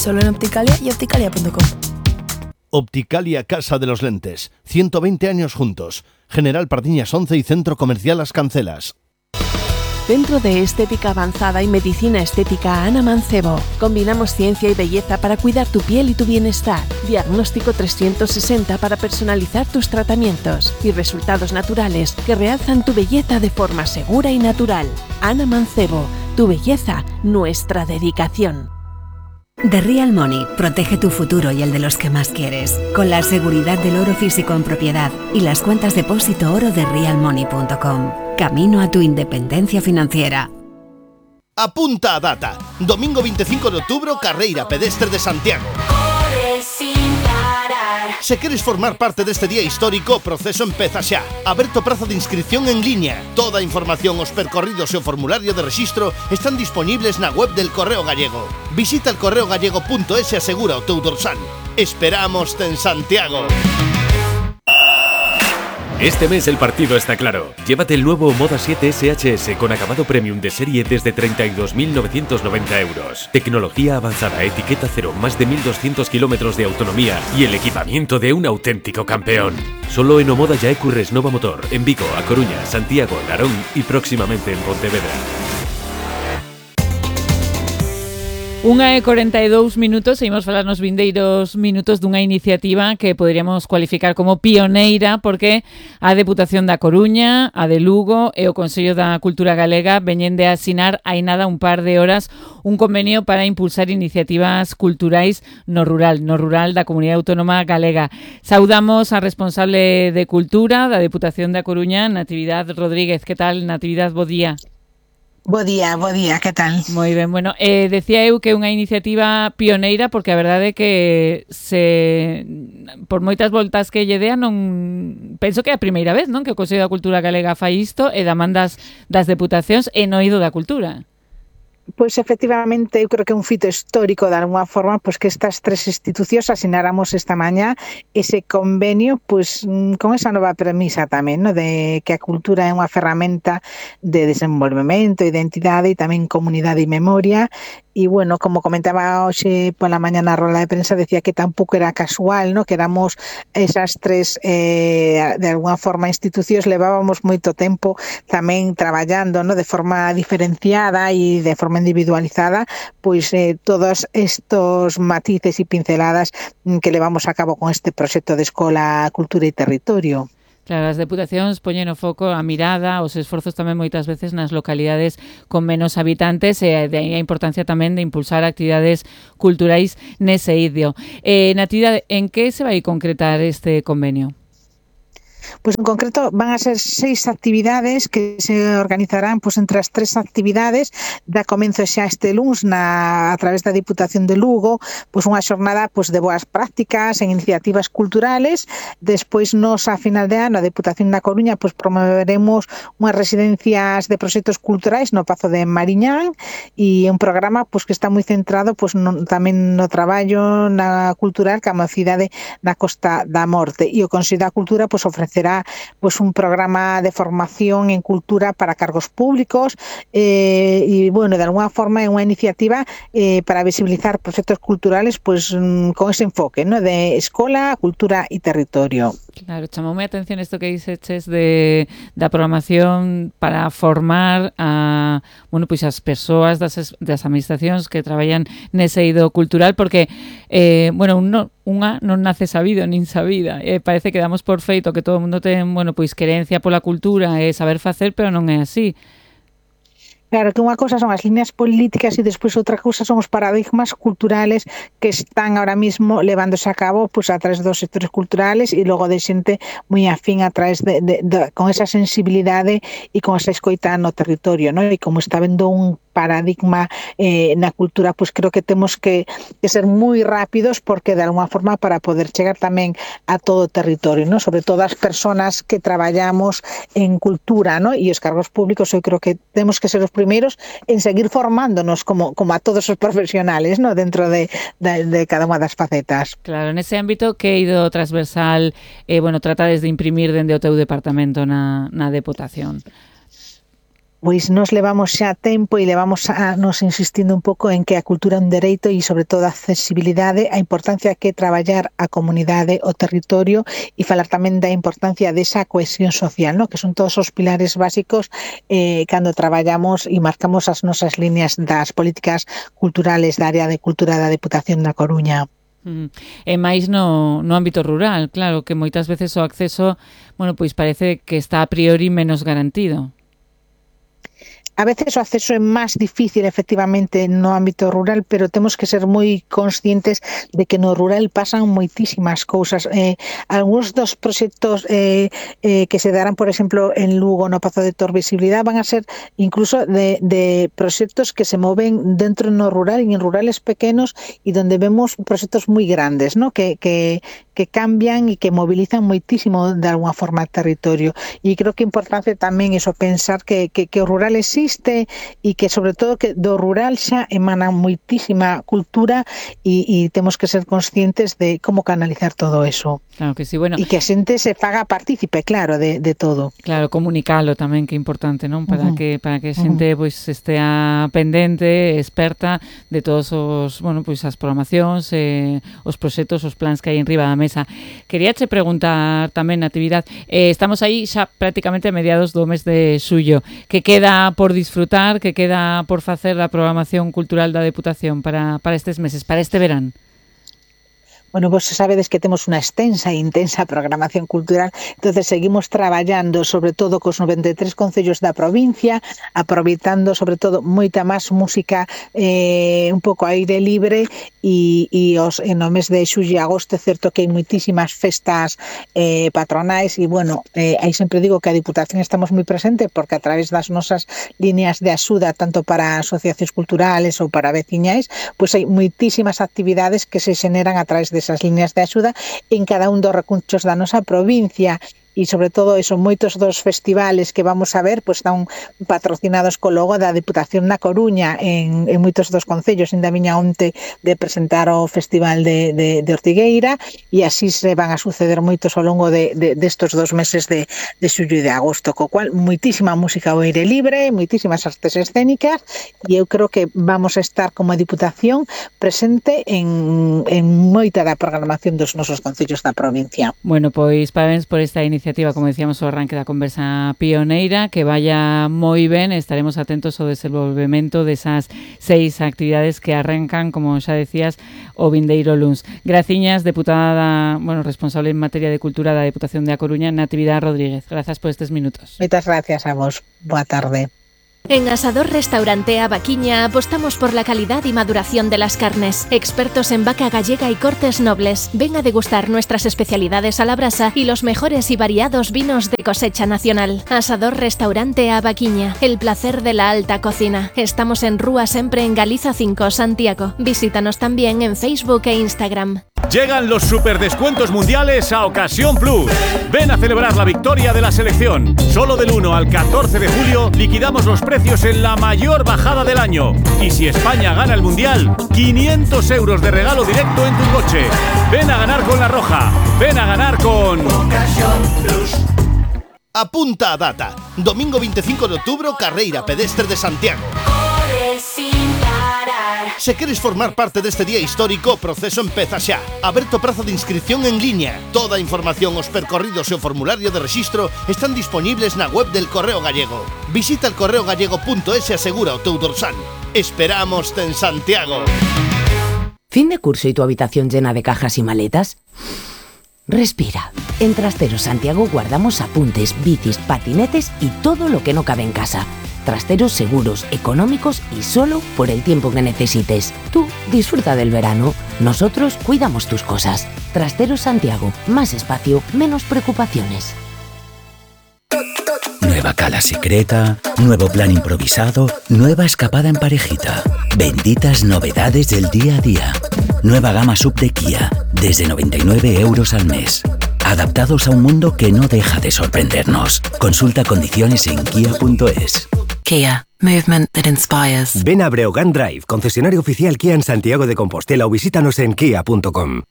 Solo en Opticalia y opticalia.com. Opticalia Casa de los Lentes. 120 años juntos. General Pardiñas 11 y Centro Comercial Las Cancelas. Centro de Estética Avanzada y Medicina Estética Ana Mancebo. Combinamos ciencia y belleza para cuidar tu piel y tu bienestar. Diagnóstico 360 para personalizar tus tratamientos. Y resultados naturales que realzan tu belleza de forma segura y natural. Ana Mancebo. Tu belleza, nuestra dedicación. The Real Money protege tu futuro y el de los que más quieres, con la seguridad del oro físico en propiedad y las cuentas depósito oro de realmoney.com. Camino a tu independencia financiera. Apunta a data. Domingo 25 de outubro, carreira pedestre de Santiago. Se queres formar parte deste día histórico, o proceso empeza xa. Aberto prazo de inscripción en liña. Toda a información, os percorridos e o formulario de rexistro están disponibles na web del Correo Gallego. Visita el correogallego.es e asegura o teu dorsal. Esperámoste en Santiago. Este mes el partido está claro. Llévate el nuevo Moda 7 SHS con acabado premium de serie desde 32.990 euros. Tecnología avanzada, etiqueta cero, más de 1.200 kilómetros de autonomía y el equipamiento de un auténtico campeón. Solo en Omoda Yaecu Resnova Motor, en Vigo, A Coruña, Santiago, Narón y próximamente en Pontevedra. 1:42, seguimos a falar nos vindeiros minutos dunha iniciativa que poderíamos cualificar como pioneira porque a Deputación da Coruña, a de Lugo e o Consello da Cultura Galega veñen de asinar hai nada un par de horas un convenio para impulsar iniciativas culturais no rural da Comunidade Autónoma Galega. Saudamos a responsable de Cultura da Deputación da Coruña, Natividad Rodríguez. Que tal, Natividad? Bo día. Bo día, que tal? Moi ben, bueno, decía eu que é unha iniciativa pioneira porque a verdade é que por moitas voltas que lle dea non penso que é a primeira vez, non, que o Consello da Cultura Galega fai isto e demandas das deputacións e no eido da cultura. Pois efectivamente, eu creo que é un fito histórico de alguma forma, pois que estas tres institucións asináramos esta mañá ese convenio, pois con esa nova premisa tamén, no, de que a cultura é unha ferramenta de desenvolvemento, identidade e tamén comunidade e memoria. E, bueno, como comentaba hoxe pola mañá na rola de prensa, decía que tampouco era casual, no, que éramos esas tres, de alguna forma, institucións, levábamos moito tempo tamén traballando, no, de forma diferenciada e de forma individualizada, pois todos estos matices e pinceladas que levamos a cabo con este proxecto de Escola, Cultura e Territorio. Claro, as deputacións poñen o foco, a mirada, os esforzos tamén moitas veces nas localidades con menos habitantes e de aí a importancia tamén de impulsar actividades culturais nese eido. Natividade, en que se vai concretar este convenio? Pois en concreto van a ser 6 actividades que se organizarán pois entre as 3 actividades. Da comenzo xa este luns a través da Diputación de Lugo, pois unha xornada pois de boas prácticas en iniciativas culturales. Despois nos a final de ano a Diputación da Coruña pois promoveremos unhas residencias de proxectos culturais no Pazo de Mariñán e un programa pois que está moi centrado pois tamén no traballo na cultural ca mocidade da Costa da Morte, e o Consello da Cultura pois ofrecerá pues un programa de formación en cultura para cargos públicos y bueno, de alguna forma é unha iniciativa para visibilizar proxectos culturales pues con ese enfoque, ¿no? De escola, cultura e territorio. Claro, chamoume a atención isto que dices da programación para formar a, bueno, pois as persoas das administracións que traballan nese eido cultural, porque bueno, unha non nace sabido nin sabida, parece que damos por feito que todo o mundo ten, bueno, pois querencia pola cultura e saber facer, pero non é así. Claro, que unha cosa son as líneas políticas e despois outra cousa son os paradigmas culturales que están ahora mismo levándose a cabo pues, a través dos sectores culturales e logo de xente moi afín a través con esa sensibilidade e con esa escoita no territorio, ¿no? E como está vendo un paradigma na cultura, pues creo que temos que ser moi rápidos porque de alguna forma para poder chegar tamén a todo o territorio, ¿no? Sobre todo as persoas que traballamos en cultura, ¿no? E os cargos públicos, eu creo que temos que ser os primeiros en seguir formándonos como a todos os profesionales, ¿no? Dentro de cada unha das facetas. Claro, nese ámbito que eido transversal, bueno, tratades de imprimir dende o teu departamento na Deputación? pois nos levamos xa tempo e levamos a nos insistindo un pouco en que a cultura é un dereito e sobre todo a accesibilidade, a importancia que é traballar a comunidade, o territorio e falar tamén da importancia desa cohesión social, ¿no? Que son todos os pilares básicos cando traballamos e marcamos as nosas líneas das políticas culturales da área de cultura da Deputación da Coruña. E máis no ámbito rural, claro, que moitas veces o acceso, bueno, pois parece que está a priori menos garantido. A veces o acceso é máis difícil efectivamente no ámbito rural, pero temos que ser moi conscientes de que no rural pasan moitísimas cousas. Algúns dos proxectos que se darán, por exemplo, en Lugo, no Pazo de Torvisibilidade, van a ser incluso de proxectos que se moven dentro no rural e en rurales pequenos e donde vemos proxectos moi grandes, ¿no? que cambian e que movilizan moitísimo de alguna forma o territorio. E creo que é importante tamén eso, pensar que o rural existe e que sobre todo que do rural xa emana moitísima cultura e temos que ser conscientes de como canalizar todo eso. Claro que sí, bueno. E que a xente se faga partícipe, claro, de todo. Claro, comunicalo tamén, que é importante, non? Para que a xente pois estea pendente, experta de todos os, bueno, pois as programacións, os proxectos, os plans que hai enriba da mesa. Queríache preguntar tamén, Natividad, estamos aí xa prácticamente a mediados do mes de xullo. Que queda por disfrutar, que queda por facer da programación cultural da Deputación para estes meses, para este verán? Bueno, vos sabedes que temos unha extensa e intensa programación cultural, entonces seguimos traballando sobre todo cos 93 concellos da provincia, aproveitando sobre todo moita máis música un pouco a aire libre e no mes de xullo e agosto é certo que hai moitísimas festas patronais e bueno, aí sempre digo que a Diputación estamos moi presente porque a través das nosas líneas de axuda tanto para asociacións culturales ou para veciñais, pois hai moitísimas actividades que se xeneran a través desas líneas de axuda en cada un dos recunchos da nosa provincia e sobre todo eso, moitos dos festivales que vamos a ver pois están patrocinados co logo da Deputación da Coruña en moitos dos concellos. Ainda viña onte de presentar o Festival de Ortigueira e así se van a suceder moitos ao longo destos 2 meses de xullo e de agosto, co cual moitísima música ao aire libre, moitísimas artes escénicas e eu creo que vamos a estar como Diputación presente en moita da programación dos nosos concellos da provincia. Bueno, pois parabéns por esta iniciativa, como decíamos, o arranque da conversa pioneira, que vaya moi ben, estaremos atentos ao desenvolvemento desas 6 actividades que arrancan, como xa decías, o vindeiro luns. Graciñas, deputada, responsable en materia de cultura da Deputación de A Coruña, Natividad Rodríguez. Grazas por estes minutos. Moitas gracias a vos. Boa tarde. En Asador Restaurante Avaquiña apostamos por la calidad y maduración de las carnes. Expertos en vaca gallega y cortes nobles. Ven a degustar nuestras especialidades a la brasa y los mejores y variados vinos de cosecha nacional. Asador Restaurante Avaquiña, el placer de la alta cocina. Estamos en Rúa Sempre en Galiza 5, Santiago. Visítanos también en Facebook e Instagram. Llegan los superdescuentos mundiales a Ocasión Plus. Ven a celebrar la victoria de la selección. Solo del 1 al 14 de julio liquidamos los precios en la mayor bajada del año. Y si España gana el mundial, 500 euros de regalo directo en tu coche. Ven a ganar con La Roja. Ven a ganar con Ocasión Plus. Apunta a data. Domingo 25 de outubro, carreira pedestre de Santiago. Se queres formar parte deste día histórico, o proceso empeza xa. Aberto prazo de inscripción en liña. Toda a información, os percorridos e o formulario de rexistro están disponibles na web del Correo Gallego. Visita el correogallego.es e asegura o teu dorsal. Esperámoste en Santiago. ¿Fin de curso y tu habitación llena de cajas y maletas? Respira. En Trasteros Santiago guardamos apuntes, bicis, patinetes y todo lo que no cabe en casa. Trasteros seguros, económicos y solo por el tiempo que necesites. Tú disfruta del verano. Nosotros cuidamos tus cosas. Trasteros Santiago. Más espacio, menos preocupaciones. Nueva cala secreta, nuevo plan improvisado, nueva escapada en parejita. Benditas novedades del día a día. Nueva gama sub de Kia, desde 99 euros al mes. Adaptados a un mundo que no deja de sorprendernos. Consulta condiciones en kia.es. Kia. Movement that inspires. Ven a Breogán Drive, concesionario oficial Kia en Santiago de Compostela o visítanos en kia.com.